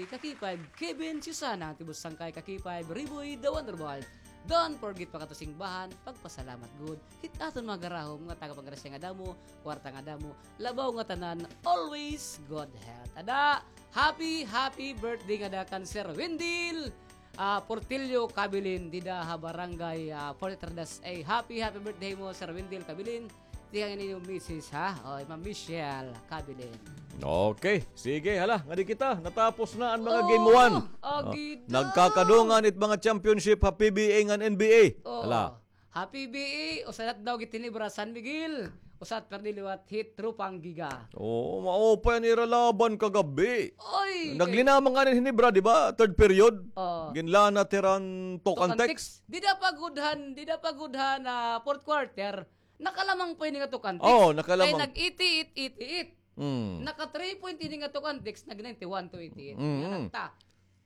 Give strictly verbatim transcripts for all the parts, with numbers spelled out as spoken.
Ka K five, Kevin Susana, tibus sangkay ka K five, Riboy, the Wonder Boy. Don't forget pa kato simbahan, pagpasalamat gud. Hit aton mga garahom nga taga panggrasya nga damo, kwarta nga damo, labaw nga tanan, always good health. Ada, happy, happy birthday ngada kan Sir Wendell, ah, Portillo Kabilin, dida ha barangay, ah, Fort Lauderdale. Happy, happy birthday mo, Sir Wendell Kabilin. Tikang ini yung misis, ha? O, Ma'am Michelle Kabilin. Okay. Sige, hala, ngadi kita. Natapos na an mga game one. Oh, gida. Nagkakadungan it mga championship ha P B A ngan N B A. Oh. Hala. Ha P B A, usa na daw gid hinibra San Miguel. Usa na perdi liwat hit Tropang Giga. Oo, maupay an ira laban kagabi. Oy, naglinamang ngani hinibra, di ba? Third period. Oh. Ginlanat hira han Tok Antics. Dida pa gud han, dida pa gud han, ah, fourth quarter. Nakalamang pa ini nga Tok Antics. Oo, nakalamang. Kay nag-eighty-eight eighty-eight. Mm. Naka three point ini nga Tok Antics, nag ninety-one to eighty-eight. Mm. Yan ang ta.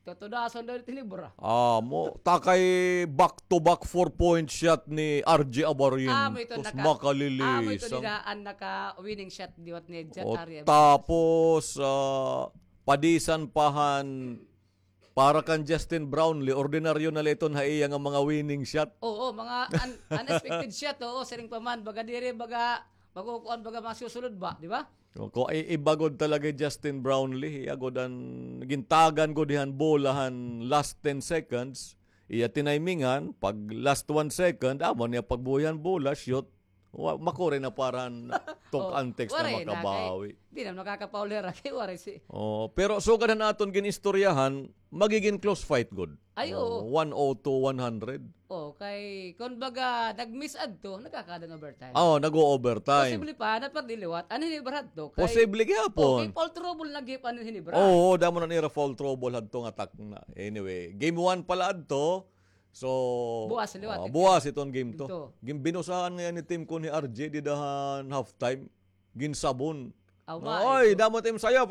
Tutudason daw it hinibra. Amo, ta kay back-to-back four-point shot ni R J Abarin. Amo ito naka, makalilisan. Amo ito dida an naka-winning shot liwat ni Jet Ari Abarin. Tapos, ah, padisan pa han Para kan Justin Brownlee, ordinaryo na la iton ha iya nga mga winning shot. Oo, mga un-, unexpected shot, oo, siring pa man, baga diri, baga, makukuan, baga masusulod ba, di ba? O, ko, i-, iba gud talaga hi Justin Brownlee, iya gud an gintagan gud han bola han last ten seconds, iya tinimingan, pag last one second, amo niya pagbuhi han bola, shoot, Wa, makuri na para han Tok Antics na makabawi. Di na makakapauli ra kay waray si. Oh, pero sugad han aton gin-istoryahan, magigin close fight gud. Ay, oo. One oh two one hundred. Oh, kay kun baga nag-miss adto, nagkakada hin overtime. Oo, nag-o-overtime. Posible pa na perdi liwat an hinibra hadto kay. Posible gihapon. Oh, kay foul trouble na gihap an hinibra. Oo, damo na nira foul trouble hadto nga takna. Anyway, game one pa la adto. So, buwas liwat, ah, buwas iton game two. Game two. Ginbinusahan ngay-an ni Team Kun hi R J dida han halftime. Ginsabon. Oy, damo tim sayaw.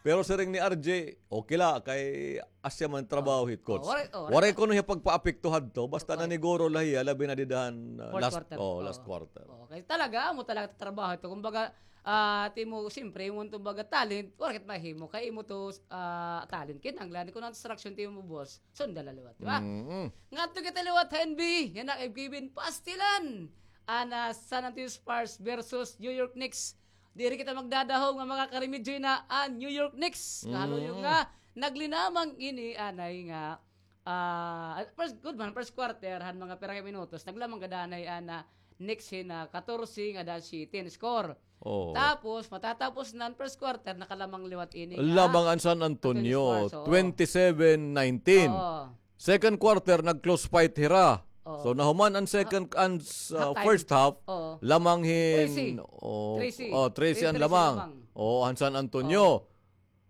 Pero siring ni R J, okay la, kay asya man trabaho hit coach. Waray kuno hiya pagpaapekto hadto, basta naniguro la hiya, labi na dida han, ah, last quarter. Oh, last quarter. Okay, talaga, amo talaga trabaho ito. Kumbaga, ah, timo, siyempre, imo to baga talent, waray kit mahimo, kay imo to, ah, talent. Kinahanglan, kun an instruction timo, boss, sunda la liwat, di ba? Mm-mm. Ngadto kita liwat ha N B A, yana kay Kevin, pastilan. An, ah, San Antonio Spurs versus New York Knicks. Diri kita magdadahom nga makakaremedyo na an New York Knicks. Nga haluyog nga naglinamang ini anay nga, ah, first, good man, first quarter, han mga pira ka minutos, naglamang gad anay an, ah, Knicks hin, ah, katorse ngada siyete an score. Oo. Tapos, matatapos na an first quarter, nakalamang liwat ini nga lamang an San Antonio, Spurs, oo. Twenty-seven nineteen. Oo. Second quarter, nag-close fight hira. Oo. So, nahuman an second, an, ah, first half, lamang hin, oh, trese an lamang. Oh, an San Antonio.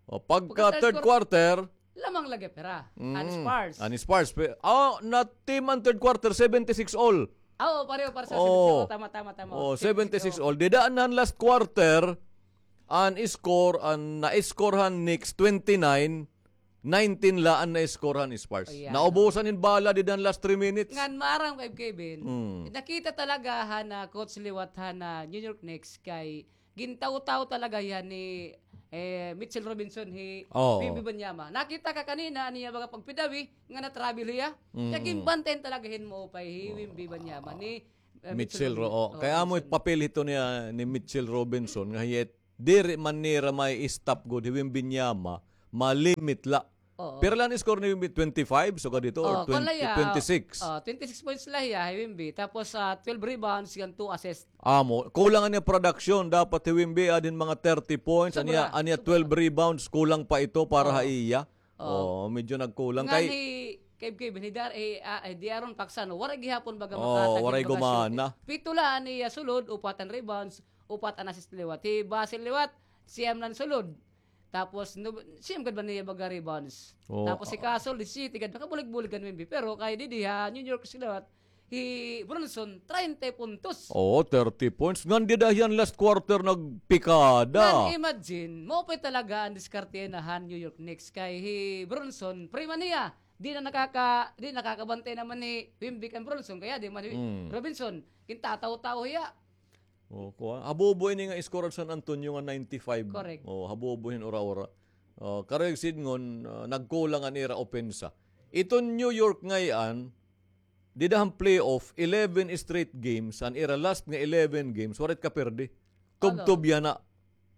Oh, pagka third quarter, lamang lagi hira. An Spurs. An Spurs. Oh, na team an third quarter, seventy-six all. Ah, oo, pareho, pareho sa seventy-six. Oo, tama, tama, tama. Oh, seventy-six all. Dida an last quarter, an score, an na-score han Knicks, twenty-nine, nineteen la an na-score han Spurs. Naubusan hin bala dida han last three minutes. Ngan maaram kay Kevin, nakita talaga han, ah, coach liwat han, ah, New York Knicks kay Gintawtaw talaga hiya ni, eh, Mitchell Robinson hi Wemby Wembanyama. Nakita ka kanina an iya baga pagpidawi nga na-trouble hiya. Kay ginbantayan talaga hin maupay hi Wemby Wembanyama ni, eh, Mitchell Robinson. Kay amo it papel hito niya ni Mitchell Robinson nga hiya it diri man nira ma-stop gud hi Wembanyama, ma-limit la. Oo. Pira la an score ni Wemby? Twenty-five, sugad hito, or twenty, twenty-six? Oh, twenty-six points la hiya, hi Wemby. Tapos, ah, twelve rebounds, ngan two assists. Amo, kulang an iya production. Dapat hi Wemby, adin mga thirty points. An iya, an iya twelve rebounds, kulang pa ito para ha iya. Oo, medyo nagkulang. Ngan kay hi, kay Kevin, hi Dar-, eh, ah, eh, De'Aaron Fox, ano, waray gihapon baga makatag hin baga shooting. Waray gumana. Pito la an iya sulod, upat an rebounds, upat an assist liwat. Hi Vassell liwat, siyam la an sulod. Tapos, no, siyam gad ba niya baga rebounds? Oo. Tapos hi Vassell, disisiyete gad, nakabulig-bulig gad Wemby. Pero kay didi ha New York sila, hi Brunson, treinta puntos. Oo, thirty points. Ngan dida hiya an last quarter nagpikada. Ngan imagine, maupay talaga an diskarte na han New York Knicks kay hi Brunson, prima niya. Di na nakaka-, di nakakabantay naman ni Wemby kan Brunson, kaya di man hi Robinson. Gintataw-taw hiya. Oh, kuan. Habobo ini nga score han San Antonio nga ninety-five. Correct. Oh, habobo hin ura-ura. Oh, karuyag sidngon, ah, nagkulang an ira opensa. Iton New York ngay-an, dida han playoff, eleven straight games, an ira last nga eleven games, waray it kaperde. Tubtob yana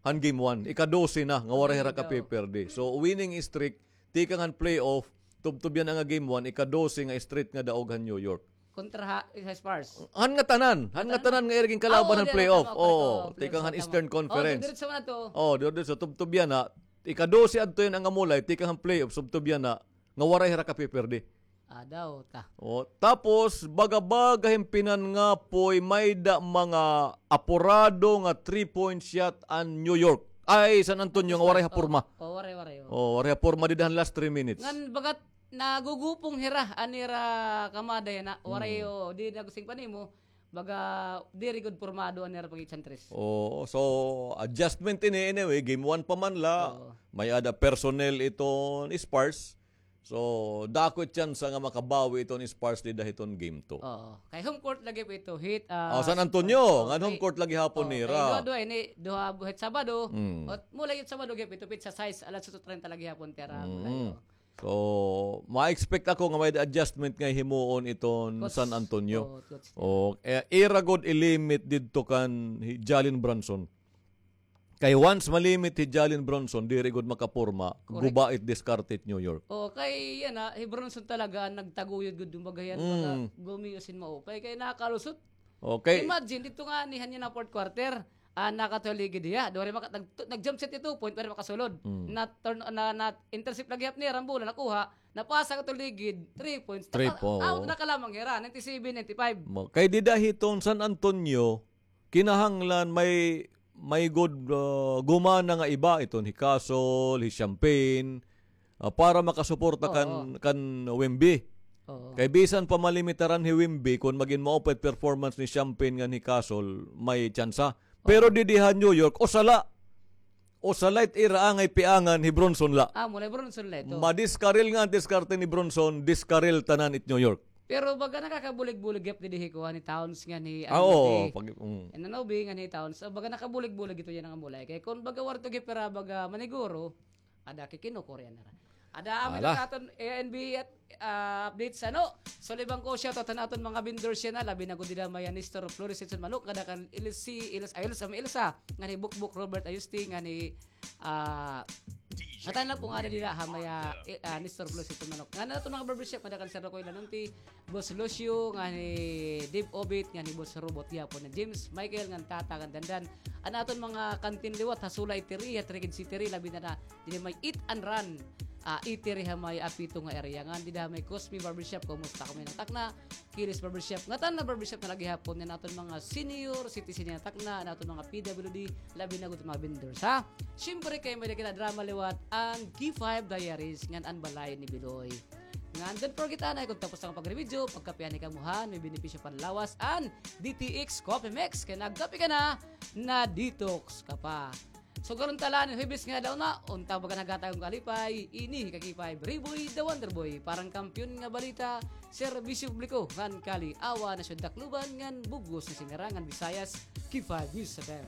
han game one. Ika-dose na nga waray hira kapeperde. So, winning streak, tikang han playoff, tubtob yana nga game one, ika-dose nga straight nga daog han New York. Kontra ha, sa Spurs. Han ngatanan, han ngatanan nga ira ginkalaban han playoff. Oh, tikang han Eastern Conference. Oh, diretso man ato. Oh, diretso, tubtob yana. Ika-dose adto yana nga mulay, tikang han playoff, tubtob yana nga waray hira kapeperde. Adaw ta. Oh, tapos, baga-baga hin pinangapoy, may-ada mga apurado nga three-point shot an New York. Ay, San Antonio nga waray ha porma. Oh, waray, waray, oh. Oh, waray ha porma dida han last three minutes. Ngan bagat nagugupong hira an ira kamada yana. Waray, oh, di na gusing pa nimo. Baga, diri gud pormado an ira pag-ichantres. Oo, so, adjustment ini, anyway, game one pa man la. Oo. May-ada personnel iton Spurs. So, dako it tsansa nga makabawi iton Spurs dida hiton game two. Oo. Kay home court lagi pa ito, hit, ah, San Antonio, ngan home court lagi hapon nira. Kay duha-duha ini, duha buhit Sabado. Ot mula it Sabado gihap ito, pitsa sais, alas otso treinta lagi hapon tira. So, ma-expect ako nga may adjustment nga himuon iton San Antonio. O, eh, ira gud i-limit didto kan hi Jalen Brunson. Kay once ma-limit hi Jalen Brunson, diri gud makaporma, guba it diskarte it New York. O, kay yana, hi Brunson talaga an nagtaguyod gud, kumbaga yana, baga gumiyo sin maupay, kay nakalusot. Okay. Imagine, didto ngani han yana fourth quarter, ah, nakatuligid hiya. Dori maka-, nag-, nag-jump shot hi two point, pero makasulod. Na turn, na, na intercept lagi hap nira an bola, nakuha, napasa katuligid, three points. Three point. Naka-, out na ka lamang hira, ninety-seven ninety-five. Kay dida hiton San Antonio, kinahanglan may, may gud, ah, gumana nga iba, iton hi Castle, hi Champagne, ah, para makasuporta kan, kan Wemby. Oo. Kay bisan pa malimitaran hi Wemby, kon magin maupay it performance ni Champagne ngan hi Castle, may tsansa. Pero didi ha New York, usa la. Usa la it ira angay piangan hi Brunson la. Ah, mula Brunson la ito. Madiskaril nga an diskarte ni Brunson, diskaril tanan it New York. Pero baga nakakabulig-bulig gihap didi hi kuan ni Towns ngan hi Anunoby. Anunoby ngan hi Towns. So, baga nakabulig-bulig ito yana nga mulay. Kay kon baga warto gihap ira baga maniguro, ada kikinukurian nira. Ada amin an aton A N B at, ah, updates, ano? So, libang ko shoutout han aton mga vendors yana, labi na gud dida may Nestor Flores iton manok, ngada kan Ilsi, Ilsa, Ilsa, may Ilsa, ngan hi Bukbuk Robert Ayusti, ngan hi, ah, ngatanan la po ngada dida ha may, ah, Nestor Flores iton manok. Ngan aton mga barbershop, ngada kan Sir Rocoy Lanunti, Boss Lucio, ngan hi Dave Obit, ngan hi Boss Robot gihapon, ngan James Michael, ngan Tata, ngan Dandan. An aton mga kantin liwat ha Sula Eatery, ha Trikid City, labi na na didi may Eat and Run, ah, Eatery ha may Apito nga area. Ngan dida ha may Cosme Barbershop, kumusta kami na takna? Kilis Barbershop, ngatanan la barbershop na la gihapon, ngan aton mga senior citizen yana takna, an aton mga P W D, labi na gud mga vendors, ha? Siyempre kay may-ada kina drama liwat, an K five Diaries, ngan an Balay ni Biloy. Ngan don't forget anay, kon tapos na an pagrebidyo, pagkape anay kamo han may benepisyo panlawas an D T X Coffee Mix. Kay nagkape ka na, na-detox ka pa. So, karon ta la ini Huwebes nga adlaw na, unta baga naghatag hin kalipay, ini hi ka K five, Riboy the Wonder Boy, para han kampiyon nga balita, serbisyo publiko, ngan kali-awan ha Syudad Tacloban, ngan bug-os nga singarangan Visayas, K five News F M.